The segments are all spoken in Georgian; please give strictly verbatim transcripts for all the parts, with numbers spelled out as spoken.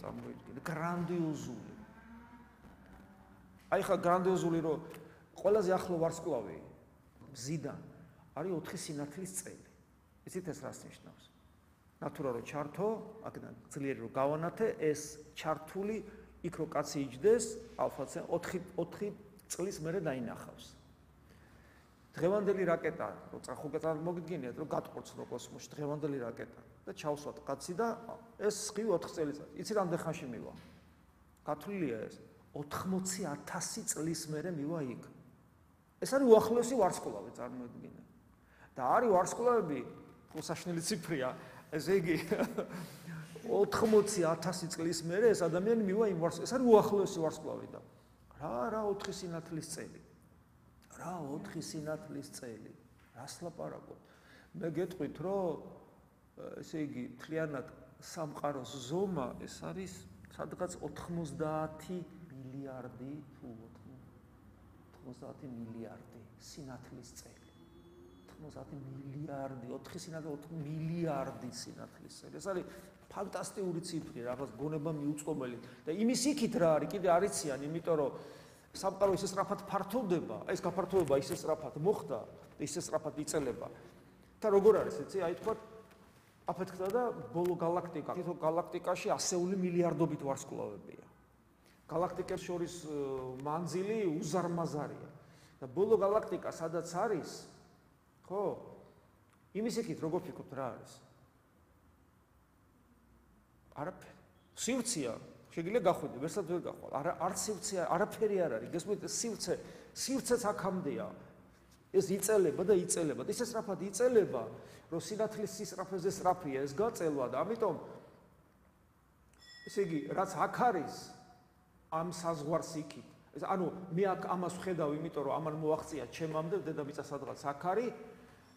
წარმოიდგინე, გრანდიოზული. აი ხა გრანდიოზული რომ ყველაზე ახლო ვარსკვლავი მზიდან არის ოთხი სინათლის წელი. იცით ეს რას ნიშნავს? ნატურა რო ჩართო, აქედან ძლიერი რო გავანათე, ეს ჩართული იქ რო კაცი იჯდეს, ალფა-ცენ ოთხი წლის მერე დაინახავს. დღევანდელი რაკეტა, რო ხო წარმოგიდგენიათ, რომ გატყორცნო კოსმოსში დღევანდელი რაკეტა და ჩავსვათ კაცი და ეს სხივი ოთხ წელიწად. იცი რამდენ ხანში მივა? გათვლილია ეს ოთხმოცი ათასი წლის მერე მივა იქ. ეს არის უახლოესი ვარსკვლავი, წარმოიდგინე. და არის ვარსკვლავები, უსაშნელი ციფრია, ესე იგი ოთხმოცი ათასი წლის მერე ეს ადამიანი მივა იმ ვარსკვლავში. ეს არის უახლოესი ვარსკვლავი და რა რა ოთხი სინათლის წელი. რა ოთხი სინათლის წელი. რას ლაპარაკობ? მე გეტყვით, რომ ესე იგი მთლიანად სამყაროს ზომა ეს არის სადღაც ოთხმოცდაათი მილიარდი თუ ოთხმოცდაათი მილიარდი სინათლის წელი. ოთხმოცდაათი მილიარდი, ოთხი სინათლე ოთხ მილიარდი სინათლის წელი. ეს არის ფანტასტიკური ციფრი, რაღაც გონება მიუწყობელი. და იმის იქით რა არის, კიდე არიციან, იმიტომ რომ სამყარო ისე სწრაფად ფართოვდება, ეს გაფართოვება ისე სწრაფად მოხდა, ისე სწრაფად იწელება. და როგორ არის, იცი, აი თქვა აფეთქდა და ბოლო galaktika, თითო galaktikაში ასეული მილიარდობით ვარსკვლავებია. galaktikებს შორის მანძილი უზარმაზარია. და ბოლო galaktika სადაც არის, ხო? იმის იქით როგორ ფიქრობთ რა არის? არაფერი. სივრცეა, შეგიძლია გახვიდე, ვერსად ვერ გახვალ. არა, არც სივრცე, არაფერი არ არის. გესმით, სივრცე, სივრცეც აქამდეა. ეს იწელება და იწელება. და ისე სწრაფად იწელება, რომ სინათლის სისწრაფეზე სწრაფია ეს გაწელვა და ამიტომ ესე იგი, რაც აქ არის, ამ საზღვარს იქით. ეს ანუ მე აქ ამას ვხედავ, იმიტომ რომ ამან მოაღწია ჩემამდე დედამიწა სადღაც აქ არის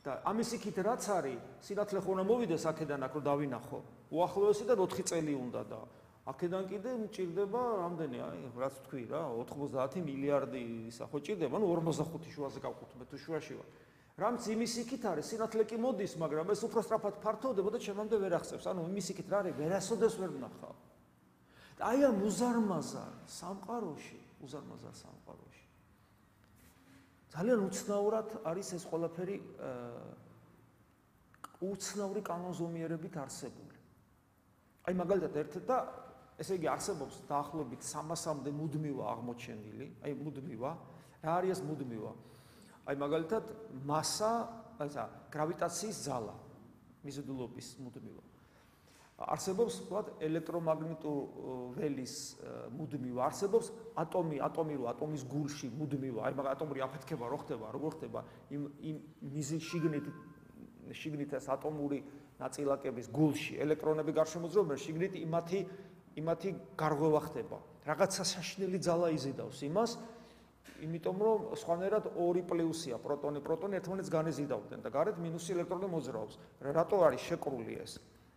და ამის იქით რაც არის, სინათლე ხო უნდა მოვიდეს აქედან აქ რომ დავინახო. უახლოესიდან ოთხი წელი უნდა და აქედან კიდე მჭირდება რამდენი, აი, რაც თქვი რა, ოთხმოცდაათი მილიარდი ისა ხო ჭირდება, ну ორმოცდახუთი შუაზე გავყვეთ, თუ შუაში ვარ. რამც იმის იქით არის, სინათლე კი მოდის, მაგრამ ეს უფრო სწრაფად ფართოვდება და ჩემამდე ვერ აღწევს. ანუ იმის იქით რა არის, ვერასოდეს ვერ ვნახავ. და აი ამ უზარმაზარ სამყაროში, უზარმაზარ სამყაროში. ძალიან უცნაურად არის ეს ყველაფერი უცნაური კანონზომიერებით არსებული. აი მაგალითად ერთ და ესე იგი არსებობს დაახლოებით სამასამდე მუდმივა აღმოჩენილი, აი მუდმივა, რა არის ეს მუდმივა? აი მაგალითად მასა, ესა გრავიტაციის ძალა, მიზიდულობის მუდმივა. არსებობს ვთქვათ ელექტრომაგნიტურ ველის მუდმივა, არსებობს ატომი, ატომი რო ატომის გულში მუდმივა, აი მაგ ატომური აფეთქება რო ხდება, როგორ ხდება იმ იმ მიზი შიგნით შიგნით ეს ატომური ნაწილაკების გულში ელექტრონები გარშემოძრაობენ, შიგნით იმათი იმათი გარღვევა ხდება. რაღაცა საშინელი ძალა იზიდავს იმას, იმიტომ რომ სხვანაირად ორი პლუსია, პროტონი, პროტონი ერთმანეთს განეზიდავდნენ და გარეთ მინუსი ელექტრონი მოძრაობს. რატო არის შეკრული ეს?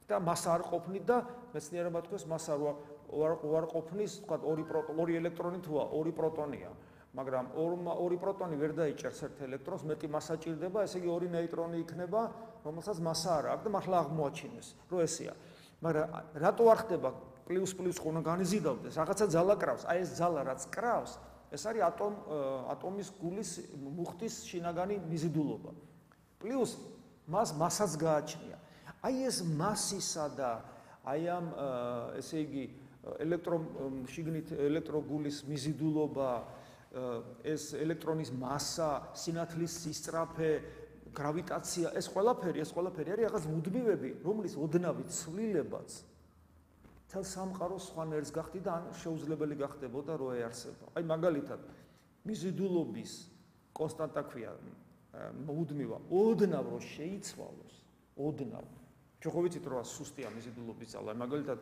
და მასა არ ყოფნით და მეცნიერებმა თქვეს მასა არ ყოფნის, თქვა ორი პროტონი, ორი ელექტრონი თუა, ორი პროტონია. მაგრამ ორი პროტონი ვერ დაიჭერს ერთ ელექტრონს, მეტი მასა ჭირდება, ესე იგი ორი ნეიტრონი იქნება, რომელსაც მასა არ აქვს და მართლა აღმოაჩინეს, რომ ესეა. მაგრამ რატო არ ხდება პლუს პლუს ხო უნდა განიზიდავდეს, რაღაცა ძალა კრავს, აი ეს ძალა რაც კრავს, ეს არის ატომ ატომის გულის მუხტის შინაგანი მიზიდულობა. პლუს მას მასაც გააჩნია. აი ეს მასისა და აი ამ ესე იგი ელექტრო შიგნით ელექტროგულის მიზიდულობა, ეს ელექტრონის მასა, სინათლის სისწრაფე, გრავიტაცია, ეს ყველაფერი, ეს ყველაფერი არის რაღაც მუდმივები, რომლის ოდნავი ცვლილებაც თელ სამყაროს სხვანაირს გახდი და ან შეუძლებელი გახდებოდა რო ეარსება. აი მაგალითად, მიზიდულობის კონსტანტა ქვია მუდმივა, ოდნავ რო შეიცვალოს, ოდნავ. ჩვენ ხო ვიცით რომ სუსტია მიზიდულობის ძალა, მაგალითად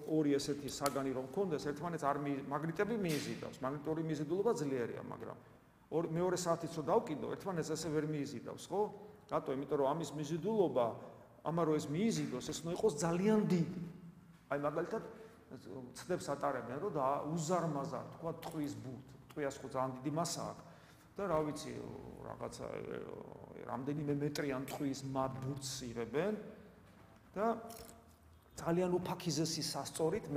ორი ესეთი საგანი რომ მქონდეს, ერთმანეთს არ მაგნიტები მიიზიდავს, მაგნიტური მიზიდულობა ძლიერია, მაგრამ მეორე საათიც რო დავკიდო, ერთმანეთს ესე ვერ მიიზიდავს, ხო? რატო? იმიტომ რომ ამის მიზიდულობა, ამა რო ეს მიიზიდოს, ეს უნდა იყოს ძალიან დიდი. აი მაგალითად ცდებს ატარებენ, რომ უზარმაზარ, თქვა ტყვის ბურთ, ტყვიას ხო ძალიან დიდი მასა აქვს და რა ვიცი, რაღაცა რამდენიმე მეტრიან ტყვის ბურთს იღებენ და ძალიან უფაქიზესი სასწორით